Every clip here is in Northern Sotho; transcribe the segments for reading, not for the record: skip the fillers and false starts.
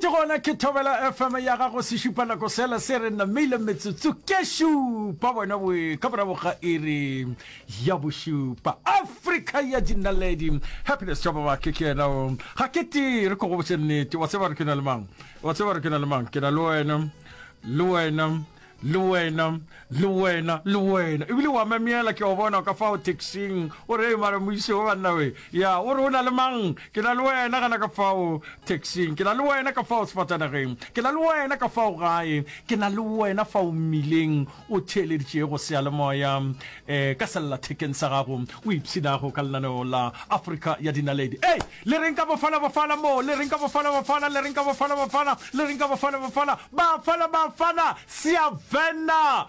Nnete gona ke Thobela FM ya gago sešupa nako sela se re namile metsotso ke šupa bona boe ka morago ga iri ya bošupa. Afrika ya dinaledi Happiness Tšhababake ke yena o ga ke tee re ko go botše nnete wa tseba re ke na le mang wa tseba re ke na le mang ke na le wena le wena Le wena, le wena, le wena. Ebile wa memela, ke o bona ka fao taxing. O re, mara moise o banna we. Ya, o re o na le mang? Ke na le wena gana ka fao taxing. Ke na le wena ka fao sefatanageng. Ke na le wena ka fao gae. Ke na le wena fao mmileng o theeleditšego seyalemoya eh, ka sellathekeng sa gago o ipshinago ka lenaneo la Afrika ya Dinaledi. Ei, le reng ka Bafana Bafana mo? Le reng ka Bafana Bafana? Le reng ka Bafana Bafana? Le reng ka Bafana Bafana? Bafana Bafana! Siyavena!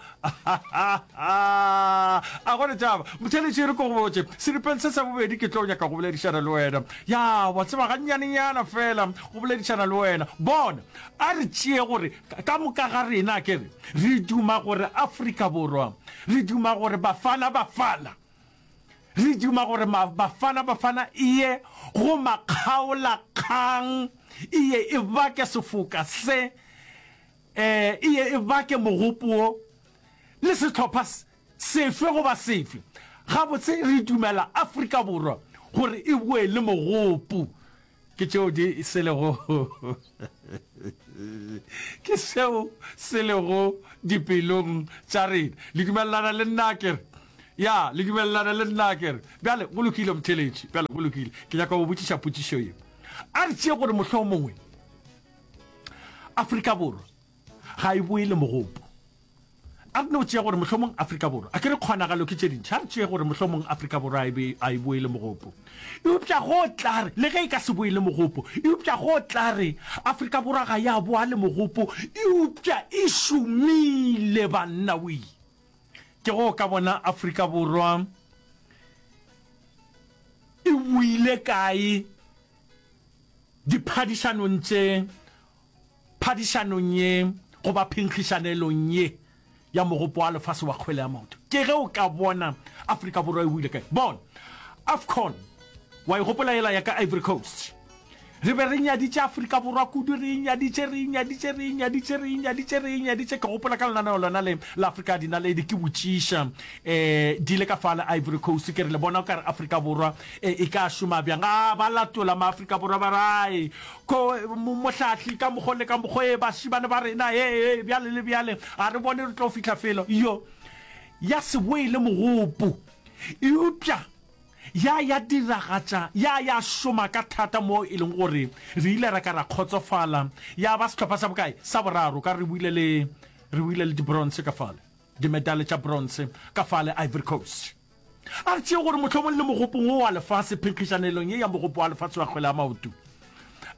A go ne taba. Motheeletši, re ko go botše, seripeng se sa bobedi ke tlo nyaka go boledišana le wena. Ya, wa tseba, gannyanenyana feela go boledišana le wena. Bona, a re tšee gore ka moka ga rena, a ke re, re duma gore Afrika Borwa, re duma gore Bafana Bafana, Re duma gore Bafana Bafana e ye go makgaolakgang, e ye e bake sefoka se, e ye e bake mogopo wo le sehlopha sefe goba sefe. Gabotse re dumela Afrika Borwa gore e boe le mogopo. Ke tšeo di se lego ke seo se lego dipelong tša rena. Le dumelelana le nna akere? Ya, le dumelelana le nna akere? Bjale, go lokile, motheeletši. Bjale, go lokile. Ke nyaka go botšiša potšišo ye. A re tšee gore mohlomongwe Afrika Borwa ga e boe le mogopo. A re no tšea gore mohlomong Afrika Borwa, a ke re kgonagalo ke tše dintši, a re tšee gore mohlomong Afrika Borwa a e be, a e boe le mogopo. Eupša go tla re, le ge e ka se boe le mogopo, eupša go tla re Afrika Borwa ga ya boa le mogopo, eupša e šomile, banna wee. Ke go ka bona Afrika Borwa e boile kae diphadišanong tše Phadišanong ye goba phenkgišanelong ye ya Mogopo wa Lefase wa Kgwele ya Maoto, ke ge o ka bona Afrika Borwa e boile kae. Bona, AFCON, wa e gopola yela ya ka Ivory Coast? Re be re nyaditše Afrika Borwa kudu, re e nyaditše, re e nyaditše, re e nyaditše, re e nyaditše, re e nyaditše. Ke gopola ka lenaneo lona le la Afrika ya Dinaledi, ke botšiša um di ile ka fale Ivory Coast, ke re le bona o ka re Afrika Borwa e, e ka šoma bjang? A ba latola Maafrika Borwa ba re, Ai, Ko, mo, mohlahli, ka mokgo le ka mokgo, ee, bašemane ba rena, ee, ee, bjale le bjale, a re bone re tlo fihla felo. Yo, ya se boe le mogopo. Eupša ya, ya diragatša, ya, ya šoma ka thata moo e leng gore re ile ra ka ra kgotsofala. Ya ba sehlopha sa bokae? Sa boraro, ka re boile le, re boile le dibronse ka fale, dimedale tša bronse ka fale Ivory Coast. A re tšee gore mohlomong le mogopong wo wa lefase, phenkgišanelong ye ya mogopo wa lefase wa kgwele ya maoto,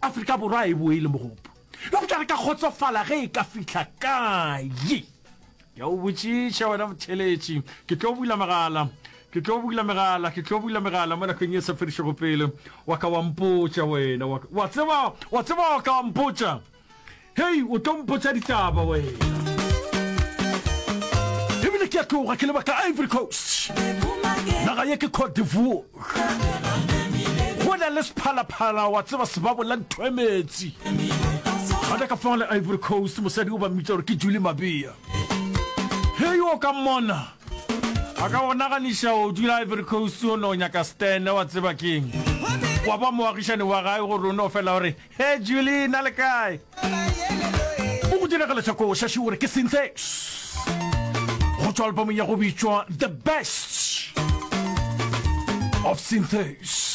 Afrika Borwa e boe le mogopo. Eupša re ka kgotsofala ge e ka fihla kae? Ke a o botšiša wena motheeletši. Ke tlo bula megala. Ke tlo bula megala. Ke tlo bula megala mo nakong ye sa fedišego pele. Wa ka wa mpotša wena. Wa, wa tseba, wa tseba wa ka wa mpotša. Hei, o tlo mpotša ditaba wena. Ebile ke a tloga ke leba ka Ivory Coast. Naga ye ke Cote d'Ivoire. Go na le sephalaphala wa tseba sebabola ntho e metsi. Gona ka fao le Ivory Coast mosadi o ba mmitša gore ke Julie Mabea. Hei, o ka mmona. A ka go naganiša o dula Ivory Coast o no nyaka stene wa tseba keng. Wa ba moagišane wa gae gore o no fela o re Hey Julie, na le kae? O go diragaletša koša še o re ke Synthex go tšwa albumong ya go bitšwa The Best of Synthex.